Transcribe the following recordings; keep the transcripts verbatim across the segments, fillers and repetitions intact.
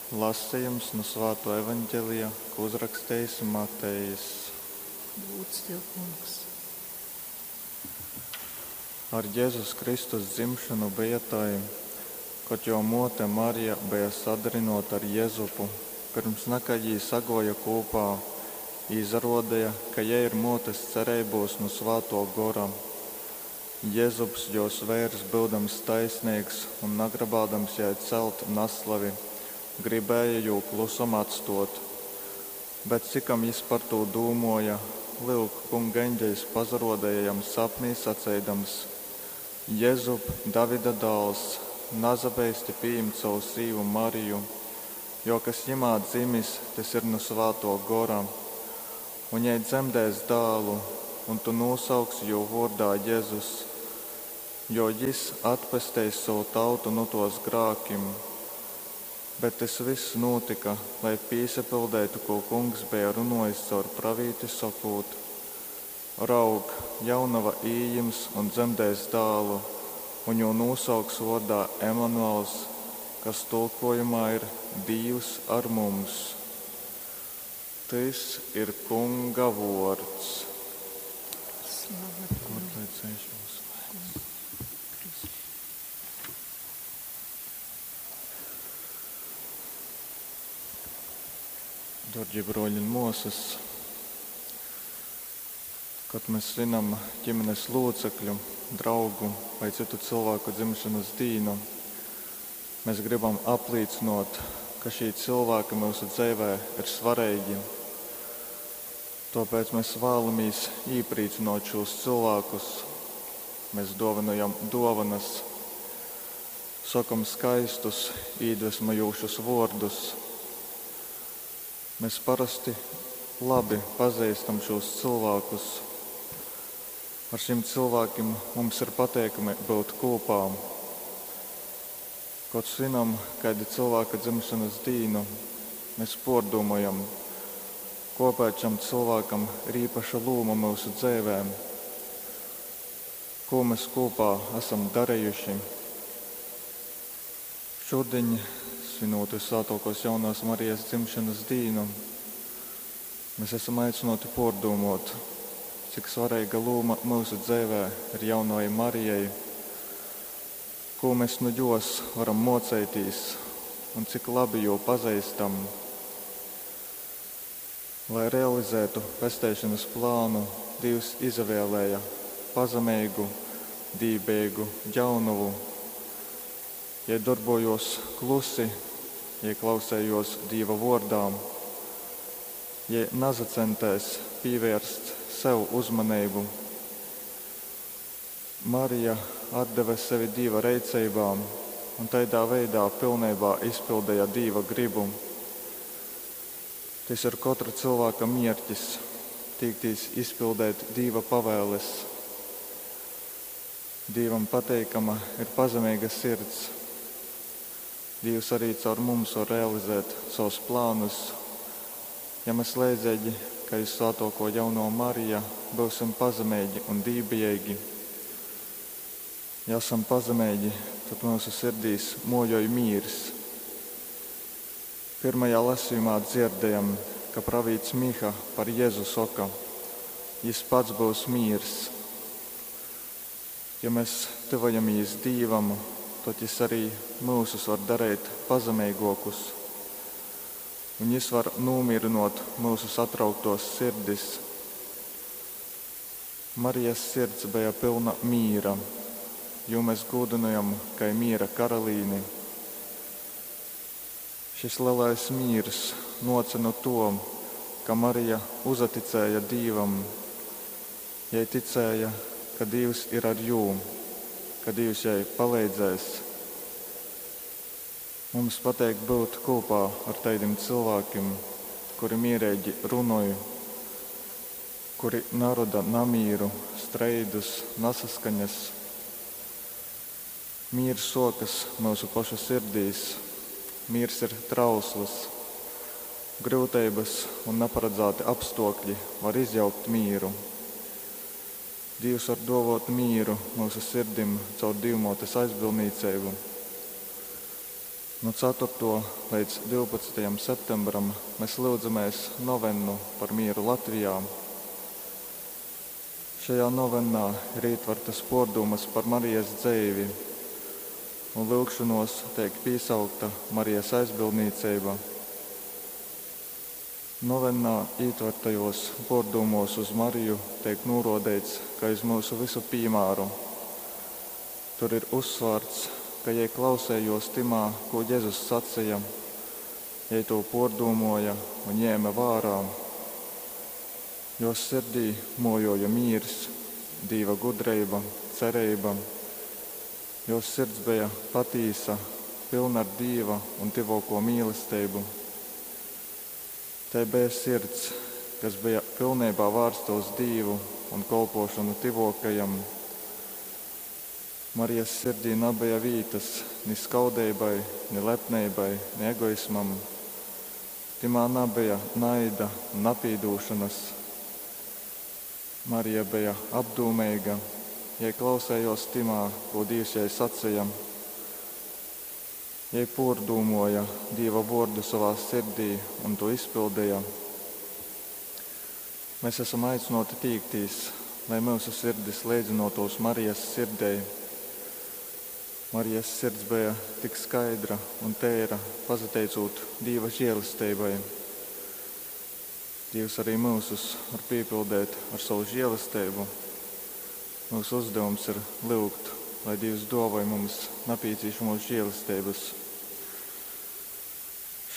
Lasījums nu Svātuo Evaņģelija, ko uzrakstījis Matejs. Gūds tev, Kungs. Ar Jēzus Kristus dzimšanu bija tai, kad jo muote Marija bija sadarinota ar Jezupu, pirms nekā jī sagoja kūpā, izarodēja, ka jai ir muotes cereibūs nu Svāto Gora. Jezups, jos veirs, būdams taisnīgs un nagrabādams jai celt naslavi, gribēja jū klusom atstot. Bet cikam jis par tū dūmoja, lyuk, Kunga eņģeļs pazarodēja jam sapnī saceidams: Jezup, Davida dāls, nazabeisti pījimt savu sīvu Mariju, jo kas jimā dzimis, tys ir nu Svāto Gora. Un jai dzemdēs dālu, un tu nūsauksi jū vōrdā Jezus, jo jis atpesteis savu tautu nu tos grākim. Bet tys viss nūtika, lai pīsapildeitu, ko Kungs beja runojis caur pravīti sokūt: Raug, jaunava ījims un dzemdēs dālu, un jū nūsauks vōrdā Emanuels, kas tulkojumā ir Dīvs ar mums. Tys ir Kunga vōrds. Slava tev, Kur lai ceļš mūsu vainas? Kristu. Dārgie broļi un māsas, kad mēs svinam ģimenes locekļu, draugu vai citu cilvēku dzimšanas dienu, mēs gribam apliecinot, ka šī cilvēki mūsu dzīvē ir svarīgi. Tāpēc mēs vēlamies iepriecinot šos cilvēkus. Mēs dāvinojam dāvanas, sakam skaistus, iedvesmojošus vārdus. Mēs parasti labi pazīstam šos cilvēkus. Ar šiem cilvēkiem mums ir pateikami būt kopā. Kad svinam kādu cilvēka dzimšanas dienu, mēs pārdomājam, kāpēc šam cilvēkam ir īpaša loma mūsu dzīvēm, ko mēs kopā esam darījuši. Šodien, svinot Visvētākos jaunās Marijas dzimšanas dienu, mēs esam aicināti pārdomāt, cik svarīga loma mūsu dzīvē ir jaunajai Marijai, ko mēs nu jos varam mocēties un cik labi jū pazīstam. Lai realizētu pesteišanas plānu, Dievs izvēlēja pazemīgu, dībīgu jaunuvu. Ja darbojos klusi, ja klausējos Dieva vārdām, ja nazacentēs pievērst sev uzmanību. Marija atdeva sevi Dieva reicībām un tādā veidā pilnībā izpildīja Dieva gribu. Tas ir katra cilvēka mērķis – tīktīs izpildēt Dieva pavēles. Dievam pateikama ir pazemīga sirds. Dievs arī caur mums var realizēt savus plānus. Ja mēs leidzīgi, kā jūs svētoko jauno Mariju, būsim pazemīgi un dībīgi. Ja esam pazemīgi, tad mūsu sirdīs mojoj mīrs. Pirmajā lasījumā dzirdējam, ka pravīts Miha par Jēzu saka: Jis pats būs mīrs. Ja mēs tuvojamies Dievam, tad Jis arī mūsus var darīt pazemīgākus, un Jis var nomierinot mūsu satrauktos sirdis. Marijas sirds bija pilna mīra, jo mēs godinājam kā miera karalīni. Šis lielais mīrs noca no to, ka Marija uzaticēja Dievam, jai ticēja, ka Dievs ir ar jū, ka Dievs jai palīdzēs. Mums pateik būt kopā ar tādiem cilvēkiem, kuri mierīgi runāja, kuri naroda namīru, streidus, nesaskaņas. Mīrs sokas mūsu pašu sirdīs, mīrs ir trausls. Grūtības un neparedzēti apstākļi var izjaukt mīru. Dievs var dāvāt mīru mūsu sirdim caur Dievmātes aizbildniecību. Nu ceturtuo leidz divpadsmitajam septembram mes lyudzamēs novennu par mīru Latvijā. Šajā novennā ir ietvertas pōrdūmas par Marijas dzeivi, un lyugšonuos teik pīsaukta Marijas aizbildnīceiba. Novennā ietvertajos pōrdūmos uz Mariju teik nūrōdeits kai uz myusu vysu pīmāru. Tur ir uzsvārts, ka jei klausējos tymā, ko Jezus saceja, jei to pōrdūmoja un ņēma vērā. Jos sirdī mojoja mīrs, Dīva gudreiba, cereiba. Jos sirds beja patīsa, pilna ar Dīva un tyvōko mīlesteibu. Tai beja sirds, kas beja pilnībā vērsta uz Dīvu un kolpošanu tyvōkajam. Marijas sirdī nabeja vītas ni skaudeibai, ni lepneibai, ni egoismam. Timā nabeja naida un napīdūšanas. Marija beja apdūmeiga, jai klausējos timā, ko Dīvs jai saceja. Jai pōrdūmoja Dīva vōrdu savā sirdī un to izpildīja. Mēs esam aicināti tīktīs, lai mūsu sirdis leidzinotos Marijas sirdei. Marijas sirds beja tik skaidra un teira, pasateicūt Dīva žēlestībai. Dievs arī mūsus var piepildīt ar savu žēlestību. Mūsu uzdevums ir lūgt, lai Dievs dāvāj mums nepieciešamos žēlestības.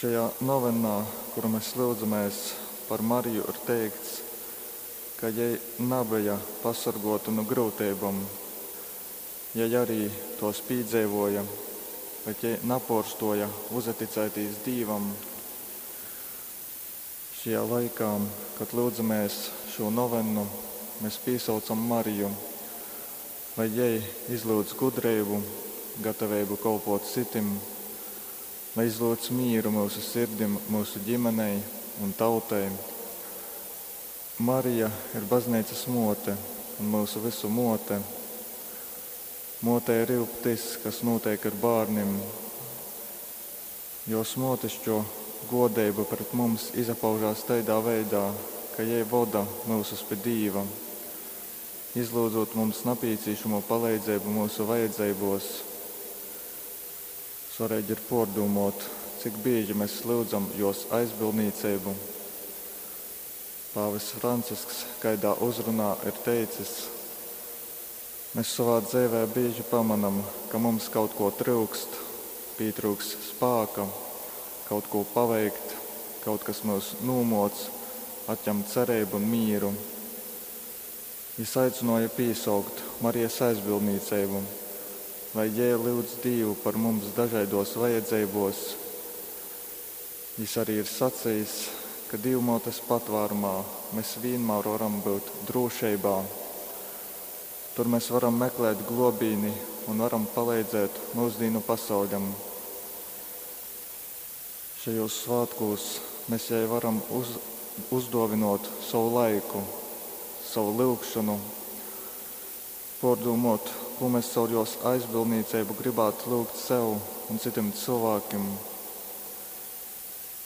Šajā novennā, kuru mēs lūdzamies par Mariju, ir teikts, ka jai nabeja pasargota no grūtībām, jai arī tos pīdzīvoja, bet jai naporstoja uzaticētīs Dīvam. Šajā laikā, kad lūdzamies šo novennu, mēs piesaucam Mariju, lai jai izlūdz gudrību, gatavību kolpot citim, lai izlūdz mīru mūsu sirdim, mūsu ģimenei un tautai. Marija ir baznīcas mote un mūsu visu mote. Motei rūp tas, kas notiek ar bērniem. Jos motišķo godība pret mums izpaužās tādā veidā, ka jai voda mūsus pie Dīva, izlūdzot mums nepieciešamo palīdzību mūsu vajadzībos. Svarīgi ir pārdomot, cik bieži mēs lūdzam jos aizbildnīcību. Pāvests Francisks kaidā uzrunā ir teicis: mēs savā dzīvē bieži pamanam, ka mums kaut ko trūkst, pietrūks spēka, kaut ko paveikt, kaut kas mūs nūmoc, atņem cerību un mīru. Jis aicināja piesaukt Marijas aizbildnīcību, lai jai lūdz Dievu par mums dažādos vajadzībos. Jis arī ir sacījis, ka Dievmātes patvērumā mēs vienmēr varam būt drošībā. Tur mēs varam meklēt globīni un varam palīdzēt mūsdienu pasauļam. Šajos svētkos mēs jai varam uz, uzdāvinot savu laiku, savu lūgšanu, pārdomot, ko mēs caur jos aizbildnīcību gribētu lūgt sev un citiem cilvēkiem.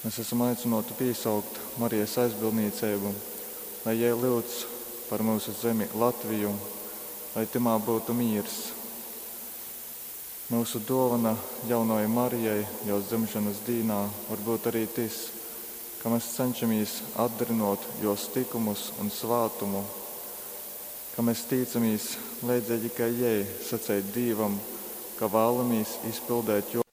Mēs esam aicināti piesaukt Marijas aizbildnīcību, lai jai lūdz par mūsu zemi Latviju, lai timā būtu mīrs. Mūsu dāvana jaunajai Marijai jos dzimšanas dīnā var būt arī tas, ka mēs cenšamies atdarinot jos tikumus un svātumu, ka mēs tīcamies leidzīgi kā jai sacīt Dīvam, ka vēlamies izpildīt jo